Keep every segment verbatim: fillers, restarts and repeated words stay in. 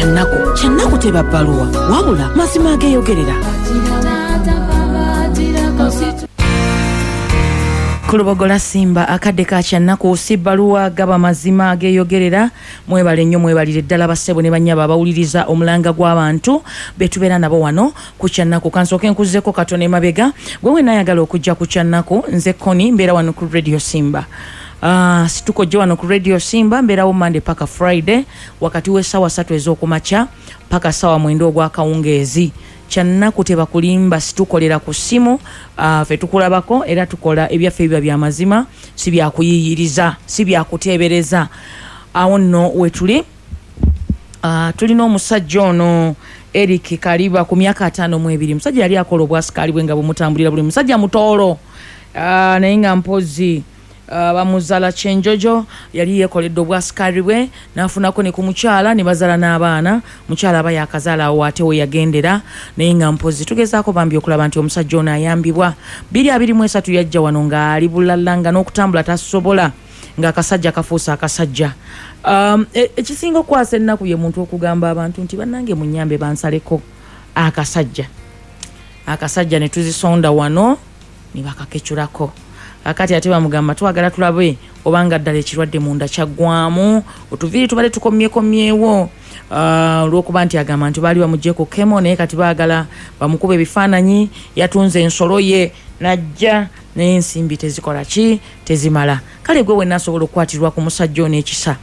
Kyannaku, kyannaku teba bbaluwa, wabula mazima ageeyogerera. Kulubogola Simba, akadde ka kyannaku si bbaluwa, gaba mazima ageeyogerera. Mwebale nnyo, mwebalire ddala bassebo ne bannyabo abawuliriza omulanga gw'abantu betubeera nabo wano ku kyannaku. Kansooke nkuzzeko katono emabega. Gwe wenna ayagala okujja ku kyannaku, nze Koni, mbeera wano ku Radio Simba. Uh, situkojje wano ku Radio Simba, mbeerawo Monday paka Friday wakati w'essaawa ssatu ez'okumakya paka ssaawa mwenda ogw'akawungeezi. Kyannaku tebakulimba, situkolera ku ssimu, uh, ffe tukulabako era tukola ebyaffe biba bya mazima, si byakuyiyiriza, si byakuteebereza. Awo nno wetuli. Uh, tulina omusajja ono Eric Kaliba ku myaka ataano mu ebiri. Musajja yali akola obwasikaali bwe nga bumutambulira buli, musajja mutoolo, uh, naye nga mpozi Uh, bamuzala Kyenjojo, yali yeekoledde obwasikaali bwe n'afunako ne ku mukyala ne bazala n'abaana. Mukyala aba yakazaala awo ate we yagendera, naye nga mpozi tugezaako bambi okulaba nti omusajja ono ayambibwa. Biri abiri mu esatu yajja wano ng'ali bulala, nga n'okutambula tasobola, ng'akasajja kafuuse akasajja. Um, ekisinga okukwasa ennaku ye muntu okugamba abantu nti bannange munnyambe bansaleko akasajja. Akasajja ne tuzisonda wano ne bakakecurako. Akati ate bamugamba twagala tulabe obanga ddala ekirwadde munda kyaggwamu, otuviiri tubadde tukomyekomyewo olw'okuba nti agamba nti baali bamuggyeko kemo, naye kati baagala bamukuba ebifaananyi. Yatunze ensolo ye najja, naye ensimbi tezikola ki, tezimala. Kale gwe wenna asobola okukwatirwa ku musajja ono ekisa,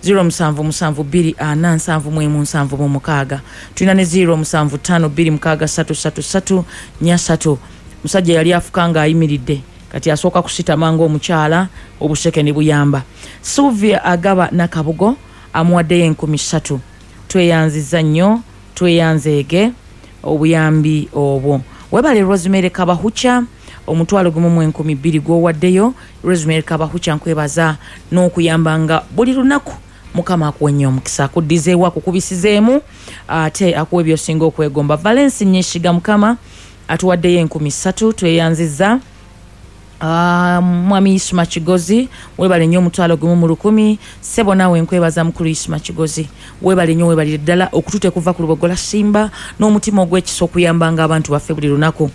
zero musanvu musanvu bbiri ana nsanvu mu emu nsanvu mu mukaaga. Tulina ne zero musanvu ttaano bbiri mukaaga ssatu ssatu ssatu nnya ssatu. Musajja yali afuka ng'ayimiridde, kati asooka kusitama ng'omukyala, obuseke ne buyamba. Sylvia Agaba Nakabugo amuwaddeyo enkumi ssatu. Tweyanziza nnyo, tweyanzeege obuyambi obwo. Webale Rosemary Kabahucha, omutwalo gumu mu enkumi bbiri gw'owaddeyo. Rosemary Kabahucha, nkwebaza n'okuyambanga buli lunaku. Mukama akuwe nnyo omukisa, akuddizeewo, akukubisizeemu, ate akuwe by'osinga okwegomba. Valence Nyeshiga Mukama atuwaddeyo enkumi ssatu, tweyanziza. Uh, Mwami Isma Kigozi webale nnyo omutwalo gumu mu lukumi. Ssebo naawe nkwebaza mukulu Isma Kigozi, webale nnyo, webalire ddala okutute kuva ku Lubogola Simba n'omutima ogw'ekisa okuyambanga abantu baffe buli lunaku.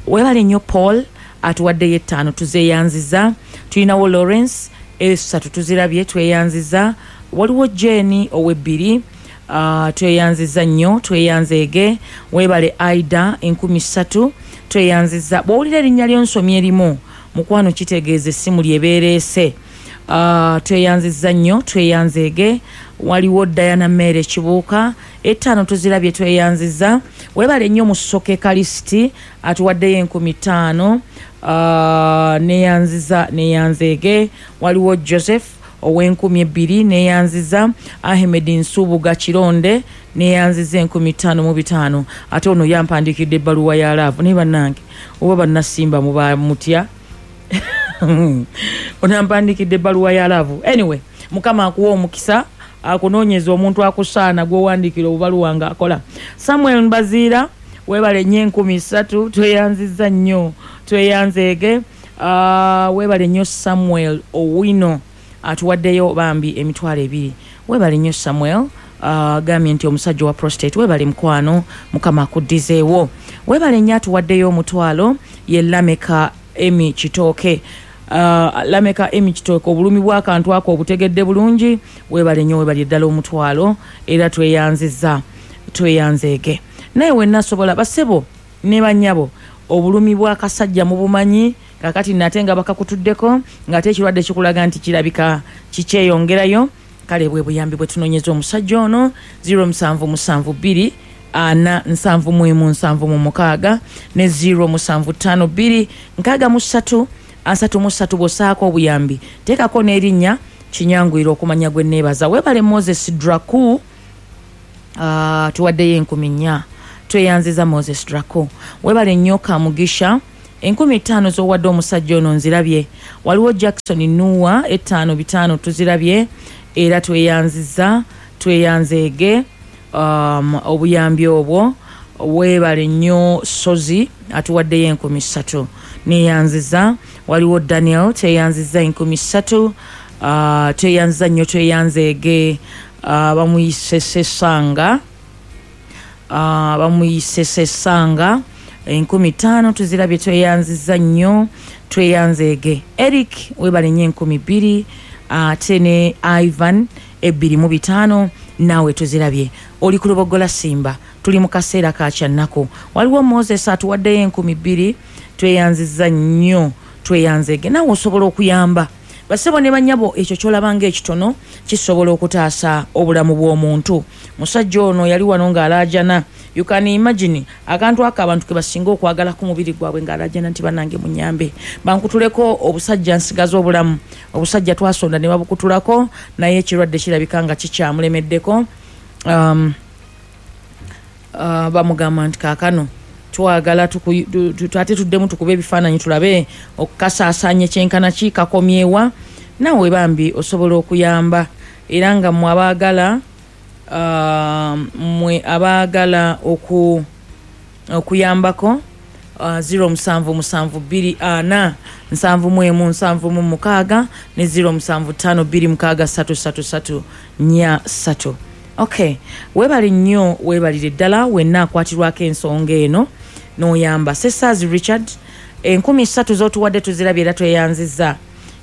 Webale nnyo Paul atuwaddeyo ettaano, tuzeeyanziza. Tulinawo Lawrence esatu tuzirabye, tweyanziza. Waliwo Jane ow'ebbiri, uh, tweyanziza nnyo, tweyanzeege. Webale Aida enkumi ssatu, tweyanziza. Bw'owulira erinnya ly'onsomye erimu mukwano kitegeeza essimu lyebeereese. Uh, tweyanziza nnyo, tweyanzeege. Waliwo Diana Mere Kibuuka ettaano tuzirabye, tweyanziza. Webale nnyo Musoke Kalisiti atuwaddeyo enkumi ttaano, uh, neyanziza, neyanzeege. Waliwo Joseph ow'enkumi ebbiri, neyanziza. Ahmed Nsubuga Kironde neyanziza enkumi ttaano mu bitaano. Ate ono yampandiikidde ebbaluwa ya laavu, naye bannange oba bannasimba muba mutya? Onampandiikidde ebbaluwa ya laavu. Anyway, Mukama akuwa omukisa, akunoonyeza omuntu akusaana gw'owandiikira obubaluwa ng'akola. Samuel Mbaziira webale nnyo enkumi ssatu, tweyanziza nnyo, tweyanzeege. Uh, webale nnyo Samuel Owino atuwaddeyo bambi emitwalo ebiri. Webale nnyo Samuel, agambye uh, nti omusajja wa prostate. Webale mukwano, Mukama akuddizeewo. Webale nnyo atuwaddeyo omutwalo ye Lameka Emi Kitooke. Uh, Lameka Emi Kitooke, obulumi bw'akantu ako obutegedde bulungi. Webale nnyo, webale ddala omutwalo, era tweyanziza, tweyanzeege. Naye wenna asobola, basebo ne bannyabo, obulumi bw'akasajja mubumanyi kakati nate nga bakakutuddeko, ng'ate ekirwadde kikulaga nti kirabika kikyeyongerayo. Kale bwe buyambi bwe tunoonyeza omusajja ono, zero musanvu musanvu bbiri ana nsanvu mu emu nsanvu mu mukaaga ne zero musanvu ttaano bbiri nkaaga mu ssatu asatu mu ssatu. Bw'ossaako obuyambi teekako n'erinnya, kinyanguyira okumanya gwe neebaza. Webale Moses Draku, uh, tuwaddeyo enkumi nnya, tweyanziza Moses Draku. Webale nnyo Kamugisha, enkumi ttaano z'owadde omusajja ono nzirabye. Waliwo Jackson Nuwa ettaano bitaano tuzirabye, era tweyanziza, tweyanzeege um, obuyambi obwo. Webale nnyo Sozi atuwaddeyo enkumi ssatu, neyanziza. Waliwo Daniel tweyanziza enkumi ssatu, uh, tweyanziza nnyo, tweyanzeege. uh, bamuyise Sesanga, uh, bamuyise Sesanga enkumi ttaano tuzirabye, tweyanziza nnyo, tweyanzeege. Eric webale nnyo enkumi bbiri, ate ne Ivan ebbiri mu bitaano naawe tuzirabye. Oli ku Lubogola Simba, tuli mu kaseera ka kyannaku. Waliwo Moses atuwaddeyo enkumi bbiri, tweyanziza nnyo, tweyanzeege. Naawe osobola okuyamba basebo ne bannyabo, ekyo ky'olabanga ekitono kisobola okutaasa obulamu bw'omuntu. Musajja ono yali wano ng'alaajana, you can imagine akantu ako abantu ke basinga okwagala ku mubiri gwabwe, ng'alaajana nti bannange munyambe bankutuleko obusajja nsigaze obulamu. Obusajja twasonda ne babukutulako, naye ekirwadde kirabika nga kikyamulemeddeko. um, uh, bamugamba nti kaakano twagala ate tuddemu tukube ebifaananyi tulabe okukasaasaanya ekyenkana ki kakomyewa. Naawe bambi osobola okuyamba, era nga mmwe abaagala uh, mmwe abaagala oku, okuyambako uh, zero musanvu musanvu bbiri ana nsanvu mu emu nsanvu mu mukaaga ne zero musanvu ttaano bbiri mukaaga ssatu ssatu ssatu nnya ssatu. Okay, weebale nnyo, weebalire ddala wenna akwatirwako ensonga eno n'oyamba. Sesaazi Richard enkumi ssatu z'otuwadde tuzirabye era tweyanzizza.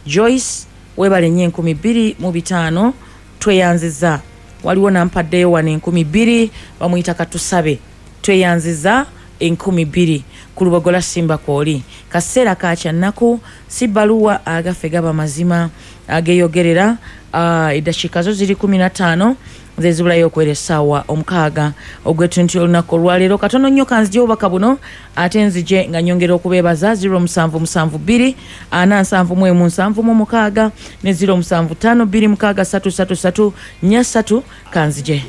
Joyce weebale nnyo enkumi bbiri mu bitaano tweyanzizza. Waliwo nampaddeyo wano enkumi bbiri bamuyita Katusabe, tweyanzizza enkumi bbiri ku Lubogola Simba kwoli. Kaseera ka kyannaku, si bbaluwa agaffe gaba mazima ageeyogerera. uh, eddakiika zo ziri kumi na ttaano zezibulayo okwera essaawa omukaaga ogw'ettuntu olunaku olwaleero. Katono nnyo kanzije obubaka buno ate nzije nga nnyongera okubeebaza. Zero musanvu musanvu bbiri ana nsanvu mu emu nsanvu mu mukaaga ne zero musanvu ttaano bbiri mukaaga ssatu ssatu ssatu nnya ssatu. Kanzije.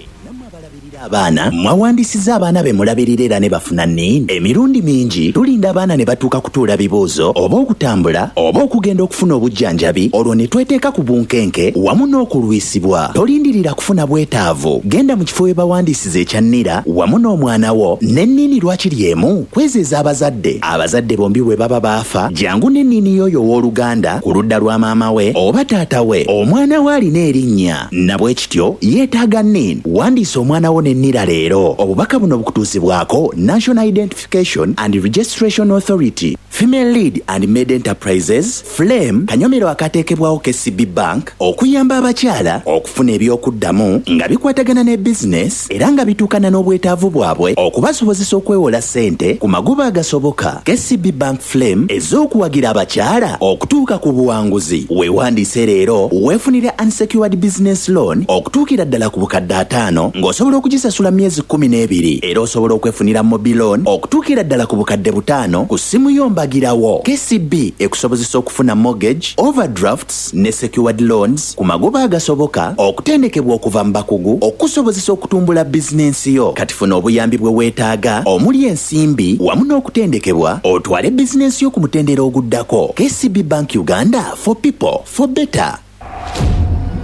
Abaana mwawandisiza abaana be mulabirira era ne bafuna NIN. Emirundi mingi tulinda abaana ne batuuka kutuula bibuuzo oba okutambula oba okugenda okufuna obujjanjabi, olwo ne tweteeka ku bunkenke wamu n'okulwisibwa. Tolindirira kufuna bwetaavu, genda mu kifo we bawandiisiza ekya NIRA wamu n'omwana wo ne NIN lwakiri emu kwezeeza abazadde. Abazadde bombi bwe baba baafa, jangu ne NIN y'oyo ow'oluganda ku ludda lwa maama we oba taata we. Omwana we alina erinnya, nabwe kityo yeetaaga NIN. Wandiisa omwana wo ne NIRA leero. Obubaka buno bukutuusibwako National Identification and Registration Authority, Female Lead and Maid Enterprises, Flame, kanyomero akateekebwawo K C B Bank okuyamba abakyala okufuna ebyokuddamu nga bikwatagana ne business era nga bituukana n'obwetaavu bwabwe okubasobozesa okwewola ssente ku magoba agasoboka. K C B Bank Flame ez'okuwagira abakyala okutuuka ku buwanguzi. Weewandiise leero weefunire unsecured business loan okutuukira ddala ku bukadde ataano ng'osobola okugisasula myezi kkumi n'ebiri, era osobola okwefunira mobile loan okutuukira ddala ku bukadde butaano ku ssimu yo mbagirawo. K C B ekusobozesa okufuna mortgage, overdrafts ne secured loans ku magoba agasoboka, okutendekebwa okuva mu bakugu okusobozesa okutumbula bizinensi yo. Kati funa obuyambi bwe weetaaga omuli ensimbi wamu n'okutendekebwa otwale bizinensi yo ku mutendera oguddako. K C B Bank Uganda, for people, for better.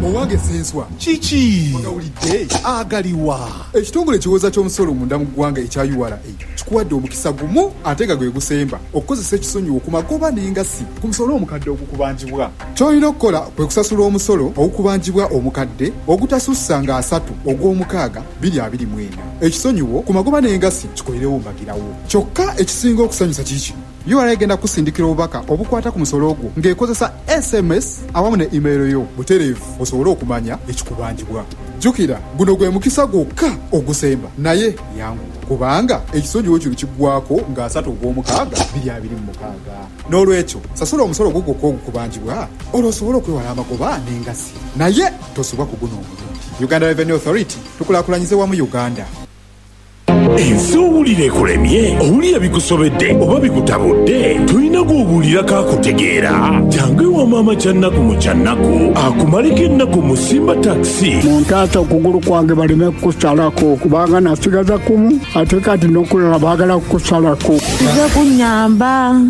Owange senswa kiki wagawulidde agaliwa ekitongole ekiwooza ky'omusolo munda mu ggwanga ekya U R A kikuwadde omukisa gumu ate nga gwe gusemba okukozesa ekisonyiwo ku magoba n'engassi ku musolo omukadde ogukubanjibwa. Ky'olina okukola kwe kusasula omusolo ogukubanjibwa omukadde ogutasussa nga asatu ogw'omukaaga bbiri abiri mu ena. Ekisonyiwo ku magoba n'engassi kikolerewo mbagirawo. Kyokka ekisinga okusanyusa kiki? U R A egenda kusindikira obubaka obukwata ku musolo ogwo ng'ekozesa S M S awamu ne email yo butereevu osobole okumanya ekikubanjibwa. Jjukira guno gwe mukisa gwokka ogusemba, naye yangu kubanga ekisonyiwo kino kiggwako nga asatu ogw'omukaaga bbiri abiri mu mukaaga. N'olwekyo sasula omusolo ogwo gwokka ogukubanjibwa olwo osobole okwewala amagoba n'engassi, naye tosubwa ku guno omulundi. Uganda Revenue Authority, tukulaakulanyize wamu Uganda. Ensi owulira ekulemye, owulira bikusobedde oba bikutabudde, tolina gw'obuulirako akutegeera. Jangu ewa maama Kyannaku mu Kyannaku akumaleko ennaku mu Simba Taxi. Muntaasa okugulu kwange baleme kukusalako kubanga nasigaza kumu ate kati n'okulala baagala kukusalako. Nze kunnyamba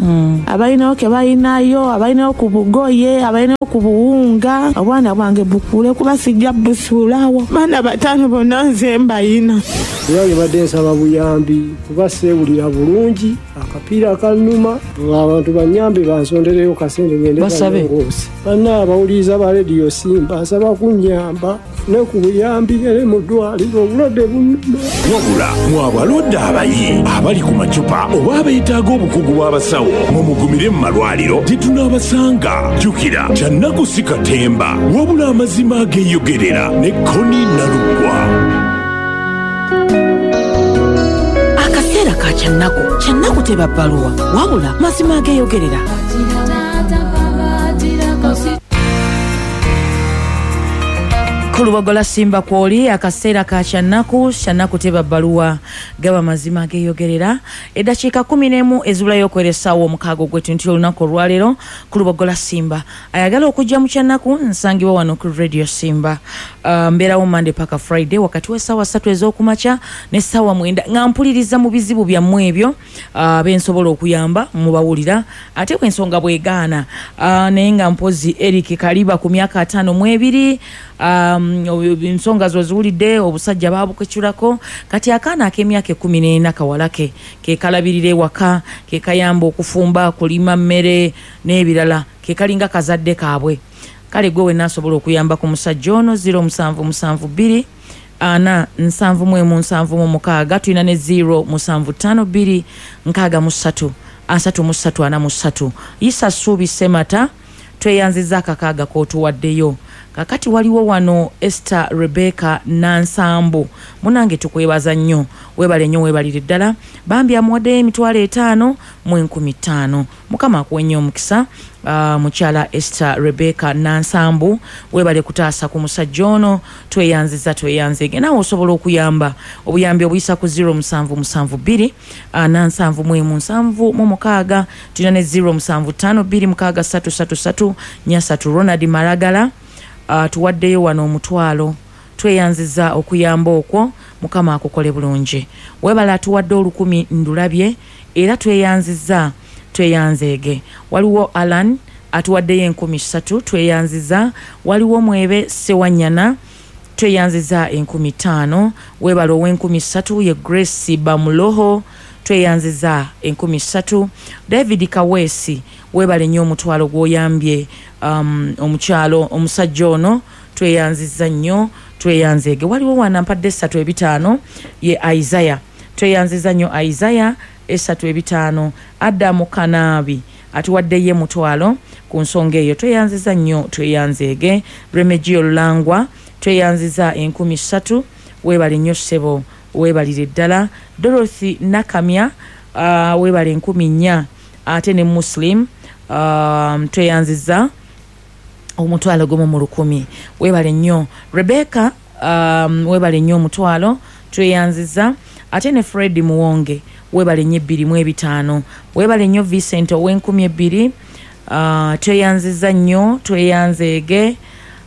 abalinawo ke balinayo, abalinawo ku bugoye, abalinawo ku buwunga, obwana bwange bukule kuba sijja busuulawo. Baana bataano bonna nze mbayina. Era badde nsaba buyambi kuba seewulira bulungi, akapiira kannuma, abantu bannyambe bansondereyo kasente ngende Basabe. balongoose. Banna abawuliriza ba rediyo Simba nsaba kunnyamba Ne ku buyambi ere mu ddwaliro obulwadde bunnuma. Wabula mwe abalwadde abayi abali ku macupa oba abeetaaga obukugu bw'abasawo, mumugumire mu malwaliro tetunaabasanga. Jjukira, Kyannaku si katemba, wabula amazima ageeyogerera ne Koni Nalugwa. Akaseera ka Kyannaku. Kyannaku teba bbaluwa, wabula mazima ageeyogerera. Kulubogola Simba kwoli akaseera ka Kyannaku. Kyannaku teba bbaluwa, gaba mazima ageeyogerera. Eddakiika kumi n'emu ezibulayo okwera essaawa omukaaga ogw'ettuntu nti olunaku olwaleero. Kulubogola Simba ayagala okujja mu Kyannaku nsangibwa wano ku Radio Simba. Uh, mbeerawo Monday paka Friday wakati w'essaawa ssatu ez'okumakya n'essaawa mwenda nga mpuliriza mu bizibu byammwe ebyo uh, bensobola okuyamba mubawulira, ate bw'ensonga bwegaana. Uh, naye nga mpozi Eric Kaliba ku myaka ataano mu ebiri, um, ensonga zo ziwulidde, obusajja baabukecurako. Kati akaana ak'emyaka ekkumi n'ena kawalake ke kalabirira ewaka, ke kayamba okufumba, kulima mmere n'ebirala, ke kalinga kazadde kaabwe. Kale gwe wenna asobola okuyamba ku musajja ono zero musanvu musanvu bbiri ana nsanvu mu emu nsanvu mu mukaaga. Tulina ne zero musanvu ttaano bbiri nkaaga mu ssatu asatu mu ssatu ana mu ssatu. Isa Ssuubi Ssemata, tweyanzizza akakaaga k'otuwaddeyo. Kakati waliwo wano Esther Rebecca Nansambu, munange tukwebaza nnyo, weebale nnyo, weebalire ddala. Bambi amuwaddeyo emitwalo etaano mu enkumi ttaano. Mukama akuwe nnyo omukisa. Uh, mukyala Esther Rebecca Nansambu, weebale kutaasa ku musajja ono, tweyanziza tweyanzege. Naawe osobola okuyamba, obuyambi obuyisa ku zero musanvu musanvu bbiri ana nsanvu mu emu nsanvu mu mukaaga. Tulina ne zero musanvu ttaano bbiri mukaaga ssatu ssatu ssatu nnya ssatu. Ronald Maragala Uh, tuwaddeyo wano omutwalo, tweyanziza okuyamba okwo, Mukama akukole bulungi. Weebale atuwadde olukumi ndulabye, era tweyanziza tweyanzeege. Waliwo Alan atuwaddeyo enkumi ssatu, tweyanziza. Waliwo Mwebe Sewanyana, tweyanziza enkumi ttaano. Weebale ow'enkumi ssatu ye Grace Bamuloho, tweyanziza enkumi ssatu. David Kaweesi, weebale nnyo omutwalo gw'oyambye um, omukyalo omusajja ono, tweyanziza nnyo tweyanzeege. Waliwo wana mpadde essatu ebitaano ye Isaiah, tweyanziza nnyo Isaiah essatu ebitaano. Adamu Kanaabi atuwadde ye mutwalo ku nsonga eyo, tweyanziza nnyo tweyanzeege. Remegio Lulangwa, tweyanziza enkumi ssatu, weebale nnyo ssebo, weebalire ddala. Dorothy Nakamya, uh, weebale enkumi nnya, ate ne Muslim, um, tweyanziza omutwalo gumu mu lukumi, weebale nnyo. Rebecca, um, weebale nnyo omutwalo, tweyanziza. Ate ne Fred Muwonge, weebale nnyo ebbiri mu ebitaano. Weebale nnyo Vincent ow'enkumi ebbiri, uh, tweyanziza nnyo tweyanzeege.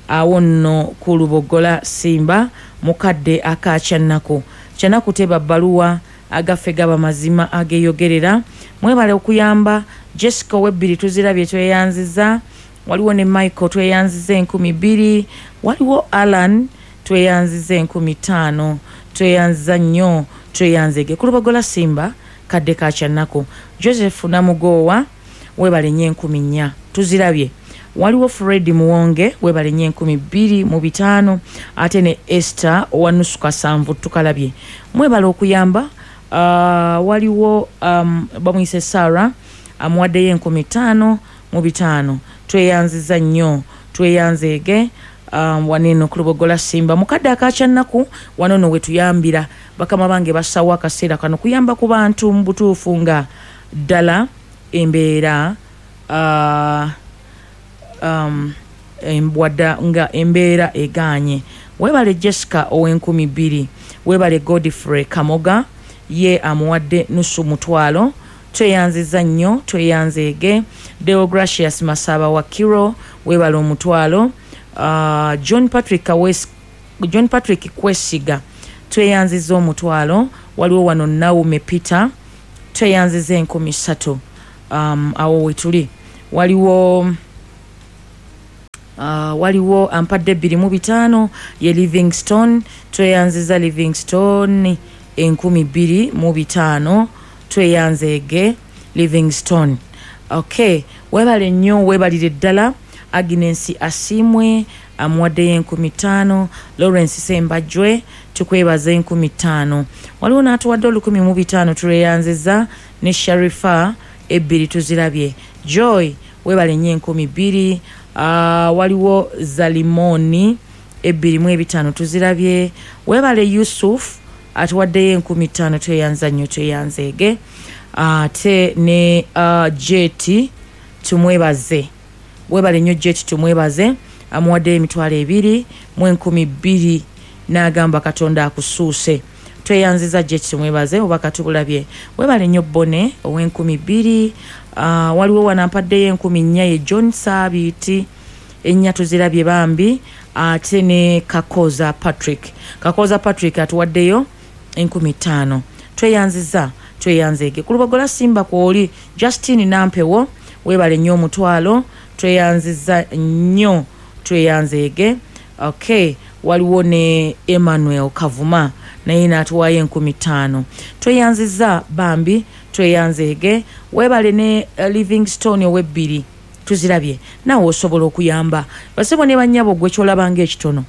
Awo nno ku Lubogola Simba mukadde aka Kyannaku. Kyannaku teba bbaluwa, agaffe gaba mazima ageeyogerera. Mwebale okuyamba. Jessica ow'ebbiri tuzirabye, tweyanziza. Waliwo ne Michael, tweyanziza enkumi bbiri. Waliwo Alan, tweyanziza enkumi ttaano, tweyanziza nnyo tweyanzege. Ku Lubogola Simba kadde ka Kyannaku. Joseph Namugowa, weebale nnyo enkumi nnya, tuzirabye. Waliwo Fred Muwonge, weebale nnyo enkumi bbiri mu bitaano, ate ne Esther owa nusu kasanvu, tukalabye. Mwebale okuyamba. Uh, waliwo um, bamuyise Sarah, amuwaddeyo enkumi ttaano mu bitaano, tweyanziza nnyo tweyanzeege. Um, waneno ku Lubogola Simba mukadde aka Kyannaku wano no wetuyambira. Bakama bange bassawo akaseera kano kuyamba ku bantu mu butuufu nga ddala embeera uh, um, wadda nga embeera egaanye. Weebale Jessica ow'enkumi bbiri, weebale Godfrey Kamoga, ye amuwadde nusu mutwalo, tweyanziza nnyo tweyanzeege. Deogracius Masaba wa Kiro, weebale omutwalo. Uh, John Patrick Kawes, John Patrick Kwesiga, tweyanziza omutwalo. Waliwo wano Naume Peter, tweyanziza enkumi ssatu. Um, awo wetuli. Waliwo uh, waliwo ampadde bbiri mu bitaano ye Livingstone, tweyanziza Livingstone enkumi bbiri mu bitaano, tweyanzeege Livingstone. Okay, webale nnyo, webalire ddala. Agnes Asimwe, amuwaddeyo enkumi ttaano. Lawrence Sembajwe tukwebaza enkumi ttaano. Waliwo n'atuwadde olukumi mu bitaano, tuleyanziza. Ne Sharifa ebbiri tuzirabye. Joy webale nnyo enkumi bbiri. Uh, waliwo Zalimoni ebbiri mu ebitaano tuzirabye. Webale Yusuf atuwaddeyo enkumi ttaano, tweyanza nnyo, tweyanzeege. Ate ne uh, J T tumwebaze, webale nnyo J T tumwebaze, amuwaddeyo emitwalo ebiri mu enkumi bbiri n'agamba Katonda akusuuse. Tweyanziza J T tumwebaze, oba katubulabye. Webale nnyo Bone ow'enkumi bbiri. uh, waliwo wanampaddeyo enkumi nnya ye John Sabiiti, ennya tuzirabye bambi. Ate ne Kakoza Patrick, Kakoza Patrick atuwaddeyo enkumi ttaano, tweyanziza, tweyanzeege. Ku Lubogola Simba kwoli Justin Nampewo, webale nnyo omutwalo, tweyanziza nnyo, tweyanzeege. Okay, waliwo ne Emmanuel Kavuma naye n'atuwaayo enkumi ttaano, tweyanziza bambi, tweyanzeege. Webale ne uh, Livingstone ow'ebbiri tuzirabye. Naawe osobola okuyamba, basebo ne bannyabo, gwe kyolabanga ekitono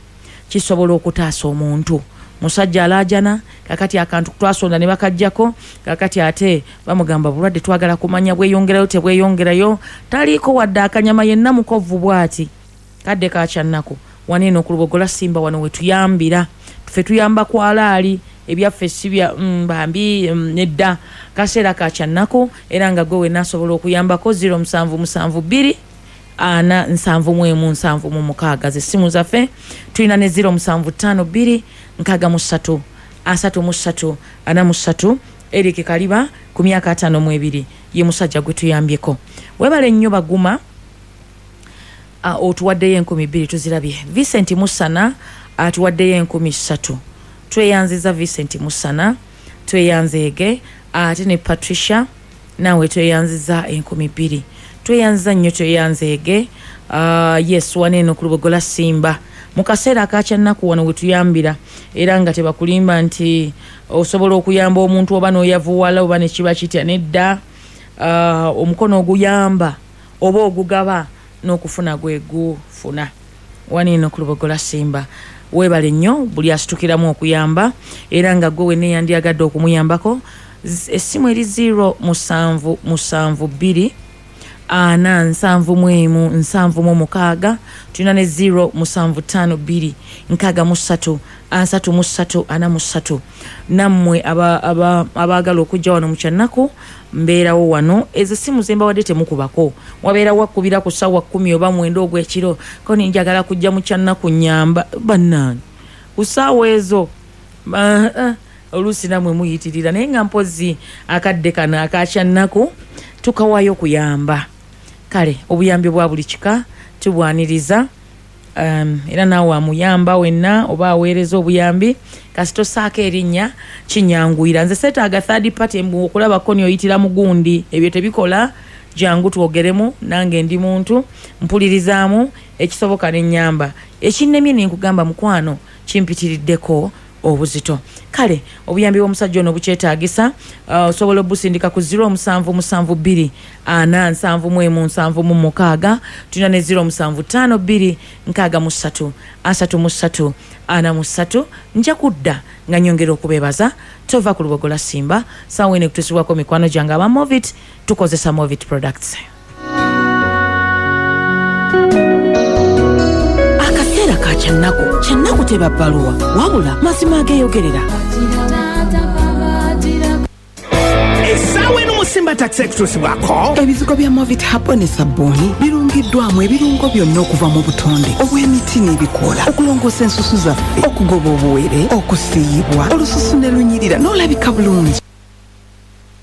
kisobola okutaasa omuntu. Musajja alaajana kakati akantu twasonda ne bakajjako, kakati ate bamugamba bulwadde twagala kumanya bweyongerayo tebweyongerayo, taliiko wadde akanyama, yenna mukovu bw'ati. Kadde kakyannaku waneeno ku Lubogola Simba wano wetuyambira, ffe tuyamba kwalaali, ebyaffe si bya mm, bambi mm, nedda. Kaseera kakyannaku era nga gwe wenna asobola okuyambako, zero musanvu musanvu bbiri ana nsanvu mu emu nsanvu mu mukaaga zessimu zaffe. Tulina ne zero musanvu ttaano bbiri nkaaga mu ssatu asatu mu ssatu ana mu ssatu. Eric Kaliba ku myaka ataano mu ebiri ye musajja gwe tuyambyeko. Webale nnyo Baguma, uh, otuwaddeyo enkumi bbiri tuzirabye. Vincent Musana atuwaddeyo enkumi ssatu, tweyanziza Vincent Musana, tweyanzeege. Ate ne Patricia naawe tweyanziza enkumi bbiri, tweyanziza nnyo, tweyanzeege. uh, yes waneeno ku Lubogola Simba mu kaseera akakyannaku wano wetuyambira, era nga tebakulimba nti osobola okuyamba omuntu oba n'oyavuwala oba nekiba kitya, nedda. uh, omukono oguyamba oba ogugaba n'okufuna gwe gufuna. Waneeno ku Lubogola Simba weebale nnyo buli asitukiramu okuyamba, era nga gwe wenna eyandyagadde okumuyambako, essimu eri zero musanvu musanvu bbiri ana nsanvu mu emu nsanvu mu mukaaga. Tulina ne zero musanvu ttaano bbiri nkaaga mu ssatu asatu mu ssatu ana mu ssatu. Nammwe abaagala aba, aba okujja wano mu kyannaku, mbeerawo wano. Ezo simu zembawadde temukubako, wabeera wakubira ku ssaawa kkumi oba mwenda ogw'ekiro ko ninjagala kujja mu kyannaku nyamba bannange ku ssaawa ezo, oluusi nammwe muyitirira. Naye nga mpozi akadde kano akakyannaku tukawaayo okuyamba. Kale obuyambi bwa buli kika tubwaniriza, um, era naawe amuyamba wenna oba aweereza obuyambi, kasita osaako erinnya kinyanguyira. Nze seetaaga third party mbu okulabako nioyitira mugundi, ebyo tebikola. Jangu twogeremu, nange ndi muntu, mpulirizaamu ekisoboka nenyamba, ekinnemye nenkugamba mukwano kimpitiriddeko obuzito. Kale obuyambi bw'omusajja ono bukyetaagisa, osobola uh, obusindika ku zero musanvu musanvu bbiri ana nsanvu mu emu nsanvu mu mukaaga. Tulina ne zero musanvu ttaano bbiri nkaaga mu ssatu asatu mu ssatu ana mu ssatu. Nja kudda nga nyongera okubeebaza. Tova ku Lubogola Simba, saawa eno ekutuusibwako mikwano gyange aba Movit. Tukozesa Movit products. Akaseera ka kyannaku. Kyannaku teba bbaluwa, wabula mazima ageeyogerera. Essaawa eno mu Simba Taxi ekutuusibwako ebizigo bya Movit Herbal ne sabbuuni birungiddwamu ebirungo byonna okuva mu butonde obw'emiti n'ebikoola okulongoosa ensusu zaffe, okugoba obuwere, okusiiyibwa olususu ne lunyirira n'olabika bulungi.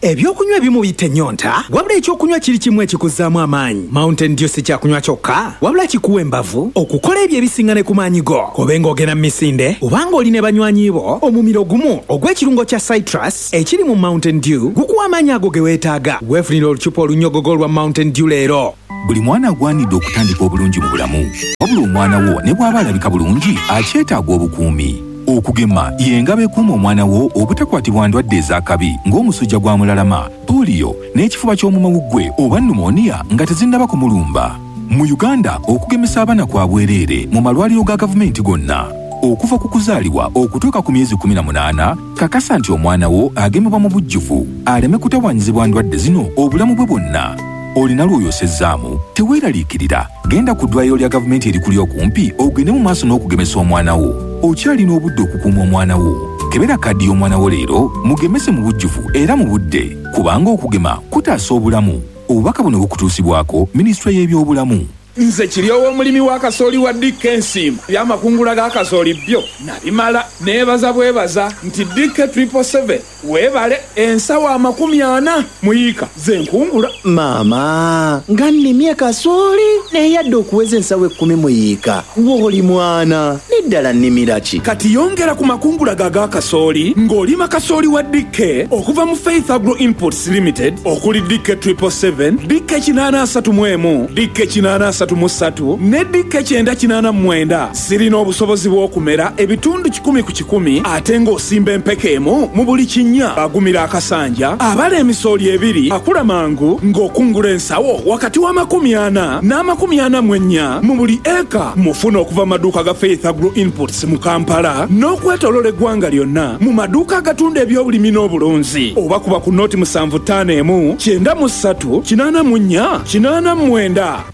Ebyokunywa ebimu biyita ennyonta, wabula ekyokunywa kiri kimu ekikuzzaamu amaanyi. Mountain Dew si kyakunywa kyokka, wabula kikuwa embavu okukola ebyo ebisinga ne ku maanyi go. Kobe ng'ogenda mu misinde obanga oli ne banywanyi bo, omumiro gumu ogw'ekirungo kya citrus ekiri mu Mountain Dew gukuwa amaanyi ago ge weetaaga. Weefunira olucupa olunyogogo olwa Mountain Dew leero. Buli mwana agwanidde okutandika obulungi mu bulamu, wabula omwana wo ne bw'aba alabika bulungi akyetaaga obukuumi. Okugema y'engabo ekuuma omwana wo obutakwatibwa ndwadde ez'akabi ng'omusujja gwa mulalama, pooliyo n'ekifuba ky'omumawuggwe oba pneumonia nga tezinnaba kumulumba. Mu Uganda, okugemesa abaana kwa bwereere mu malwaliro ga gavumenti gonna. Okuva ku kuzaalibwa okutuuka ku myezi kumi na munaana, kakasa nti omwana wo agemebwa mu bujjuvu aleme kutawaanyizibwa ndwadde zino obulamu bwe bwonna. Olina lw'oyosezzaamu, teweeraliikirira. Genda ku ddwaliro lya gavumenti erikuli okumpi ogende mu maaso n'okugemesa omwana wo. Okyalina obudde okukuuma omwana wo. Kebera kaadi y'omwana wo leero, mugemese mu bujjuvu era mu budde, kubanga okugema kutaasa obulamu. Obubaka buno bukutuusibwako Minisitule y'Ebyobulamu. Nze kiri ow'omulimi wa kasooli wa D K Nsiima. Eby'amakungula ga kasooli byo nabimala. Neebaza bwebaza nti D K triple seven weebale ensawo amakumi ana muyiika ze nkungula. Maama, nga nnimye kasooli naye yadde okuweza ensawo ekkumi muyiika. W'oli mwana, n'eddala nnimira ki? Kati yongera ku makungula ga ga kasooli ng'olima kasooli wa D K okuva mu Faith Agro Inputs Limited okuli D K triple seven, D K kinaana asatu mu emu, D K kinaana asatu mu ssatu ne D K kyenda kinaana mu mwenda. Zirina obusobozi bw'okumera ebitundu kikumi ku kikumi ate ng'osimba empeke emu mu buli kinnya. Agumira akasanja, abala emisooli ebiri, akula mangu ng'okungula ensawo wakati w'amakumi ana n'amakumi ana mu ennya mu buli eka. Mufuna okuva mu maduuka ga Faith Agro Inputs mu Kampala n'okwetooloola eggwanga lyonna mu maduuka agatunda ebyobulimi n'obulunzi, oba kuba ku noti musanvu ttaano emu kyenda mu ssatu kinaana mu nnya kinaana mu mwenda.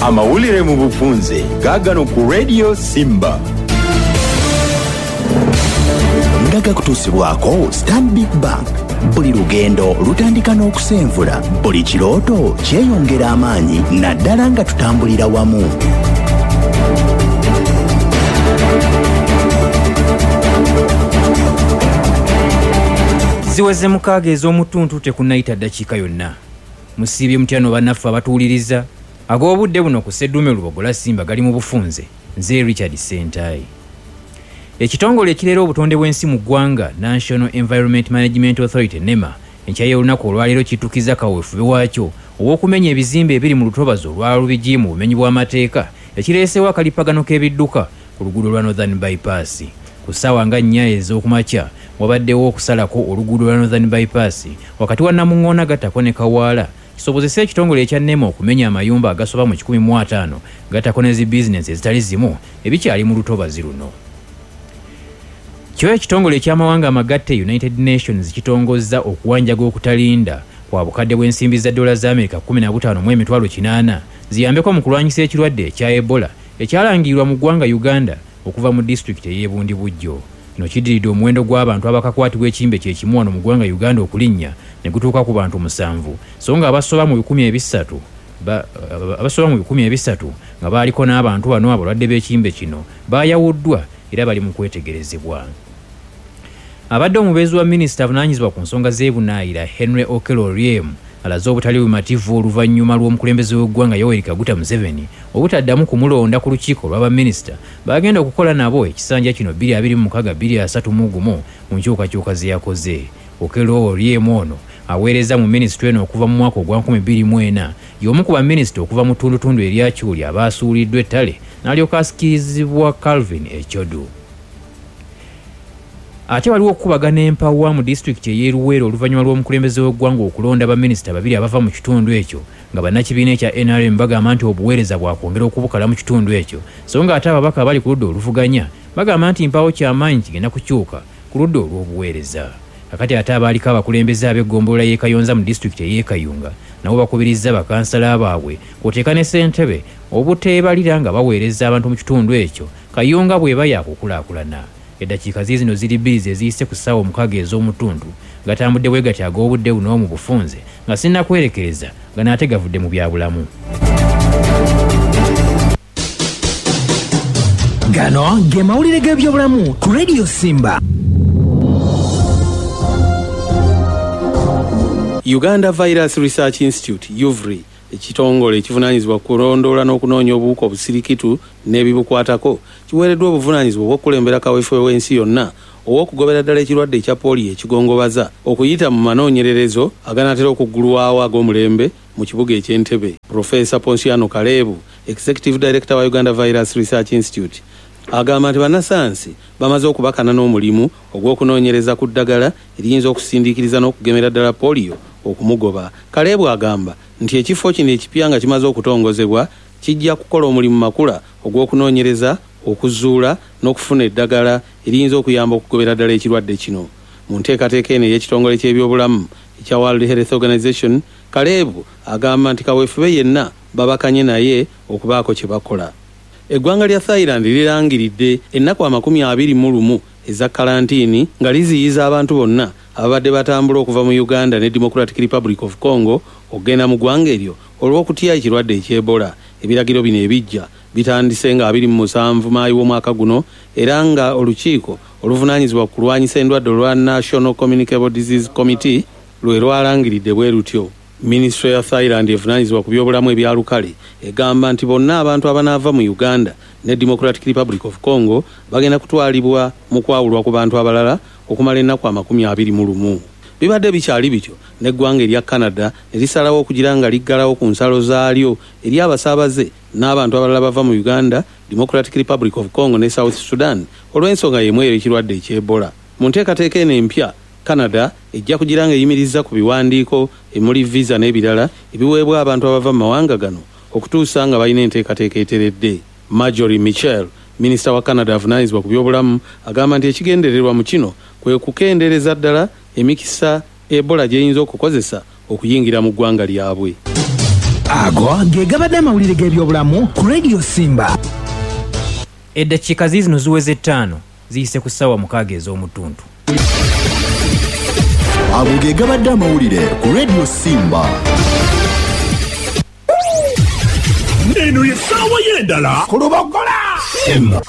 Amawulire mu bufunze gaagano ku Radio Simba. Nga gakutuusibwako Stanbic Bank. Buli lugendo lutandika n'okusenvula, buli kirooto kyeyongera amaanyi naddala nga tutambulira wamu. Ziweze mukaaga ez'omutuntu tekunnayita ddakiika yonna. Musiibye mutyano bannaffe abatuwuliriza. Ag'obudde buno ku Sseddume Lubogola Simba gali mu bufunze. Nze Richard Sentayi. Ekitongole ekirera obutonde bw'ensi mu ggwanga National Environment Management Authority NEMA enkya y'olunaku olwaleero kitukiza kaweefube waakyo ow'okumenya ebizimbe ebiri mu lutobazi olwa Lubigi mu bumenyi bw'amateeka ekireeseewo akalipagano k'ebidduka ku luguudo lwa Northern Bypass. Ku ssaawa nga nnya ez'okumakya wabaddewo okusalako oluguudo lwa Northern Bypass wakati wa Namuŋŋoona gattako ne Kawaala kisobozese ekitongole ekya NEMA okumenya amayumba agasoba mu kikumi mu ataano gattako ne zi bizinensi ezitali zimu ebikyali mu lutobazi luno. Kyo ekitongole eky'amawanga amagatte United Nations kitongozza okuwanjaga okutalinda kwa bukadde bw'ensimbi za dola za Amerika kumi na butaano mu emitwalo kinaana ziyambeko mu kulwanyisa ekirwadde ekya Ebola ekyalangirirwa mu ggwanga Uganda okuva mu disitulikiti ey'e Bundibugyo. Kino kiddiridde omuwendo gw'abantu abakakwatibwa ekimbe kye kimu wano mu ggwanga Uganda okulinnya ne gutuuka ku bantu musanvu, so nga abasoba mu bikumi ebisatu abasoba mu bikumi ebisatu nga baaliko n'abantu bano abalwadde b'ekimbe kino baayawuddwa era bali mu kwetegerezebwa. Abadde omubeezi wa minisita avunaanyizibwa ku nsonga z'ebunaayira Henry Okello Oryem alaze obutali bumativu oluvannyuma lw'omukulembeze w'eggwanga Yoweri Kaguta Museveni obutaddamu kumulonda ku lukiiko lw'abaminisita bagenda okukola nabo ekisanja kino bbiri abiri mu mukaaga bbiri asatu mu gumu mu nkyukakyuka ze yakoze. Okello Oryem ono aweereza mu minisitule eno okuva mu mwaka ogwa nkumi bbiri mu ena y'omu ku baminisita okuva mu ttundutundu erya Kyuli abaasuuliddwa ettale n'alyoka asikirizibwa Calvin Echodu. Ate waliwo okukubagana empawa mu disitulikiti ey'e Luweero oluvannyuma lw'omukulembeze w'eggwanga okulonda baminisita babiri abava mu kitundu ekyo nga bannakibiina ekya N R M bagamba nti obuweereza bwakwongera okubukala mu kitundu ekyo, so nga ate ababaka abali ku ludda oluvuganya bagamba nti mpaawo kyamaanyi kigenda kukyuka ku ludda olw'obuweereza. Kakati ate abaaliko abakulembeze ab'eggombolola y'e Kayonza mu disitulikiti ey'e Kayunga nabo bakubirizza bakansala baabwe kw'oteeka ne ssentebe obuteebalira nga baweereza abantu mu kitundu ekyo Kayunga bw'eba yakukulaakulana. Eddakiika ziizino ziri bbiri ze ziyise ku ssaawa omukaaga ez'omutundu gatambudde bwe gati ag'obudde buno mu bufunze nga sinnakwerekereza nga n'ate gavudde mu byabulamu. Gano ge mawulire g'ebyobulamu ku Radio Simba. Uganda Virus Research Institute U V R I ekitongole ekivunaanyizibwa ku kulondoola n'okunoonya obuwuka obusirikitu n'ebibukwatako kiweereddwa obuvunaanyizibwa obw'okukulembera kaweefube w'ensi yonna ow'okugobera ddala ekirwadde ekya pooliyo ekigongobaza okuyita mu manoonyererezo aganaatera okuggulwawo ag'omulembe mu kibuga eky'Entebbe. Profesa Ponsiano Kaleebu, Executive Director wa Uganda Virus Research Institute, agamba nti bannasayansi bamaze okubakana n'omulimu ogw'okunoonyereza ku ddagala eriyinza okusindiikiriza n'okugemera ddala pooliyo okumugoba. Kaleebu agamba nti ekifo kino ekipya nga kimaze okutongozebwa kijja kukola omulimu makula ogw'okunoonyereza, okuzuula n'okufuna eddagala eriyinza okuyamba okugobera ddala ekirwadde kino. Mu nteekateeka eno ey'ekitongole ky'ebyobulamu ekya World Health Organization, Kaleebu agamba nti kaweefube yenna babakanye naye okubaako kye bakola. Eggwanga lya Thailand lirangiridde ennaku amakumi abiri mu lumu eza kalantiini nga liziyiza abantu bonna ababadde batambula okuva mu Uganda ne Democratic Republic of Congo okugenda mu ggwanga eryo olw'okutya ekirwadde eky'Ebola. Ebiragiro bino ebijja bitandise nga abiri mu musanvu Maayi w'omwaka guno, era nga olukiiko oluvunaanyizibwa ku kulwanyisa endwadde olwa National Communicable Disease Committee lwe lwalangiridde bwe lutyo. Minisitule ya Thailand evunaanyizibwa ku byobulamu ebya lukale egamba nti bonna abantu abanaava mu Uganda ne Democratic Republic of Congo bagenda kutwalibwa mu kwawulwa ku bantu abalala okumala ennaku amakumi abiri mu lumu. Bibadde bikyali bityo n'eggwanga erya Canada ne lisalawo okugira nga liggalawo ku nsalo zaalyo eri abasaabaze n'abantu abalala bava mu Uganda, Democratic Republic of Congo ne South Sudan olw'ensonga y'emu eyo ekirwadde eky'Ebola. Mu nteekateeka eno empya, Canada ejja kugira nga eyimiriza ku biwandiiko emuli visa n'ebirala ebiweebwa abantu abava mu mawanga gano okutuusa nga balina enteekateeka eteredde. Marjorie Michel, minisita wa Canada avunaanyizibwa ku byobulamu, agamba nti ekigendererwa mu kino kwe kukendeereza ddala emikisa Ebola gy'eyinza okukozesa okuyingira mu ggwanga lyabwe. Ago ge gabadde amawulire g'ebyobulamu ku Radio Simba. Eddakiika ziizino ziweze ttaano ziyise ku ssaawa mukaaga ez'omutuntu. Ago ge gabadde amawulire ku Radio Simba. Eno ye ssaawa y'endala ku Lubogola Simba.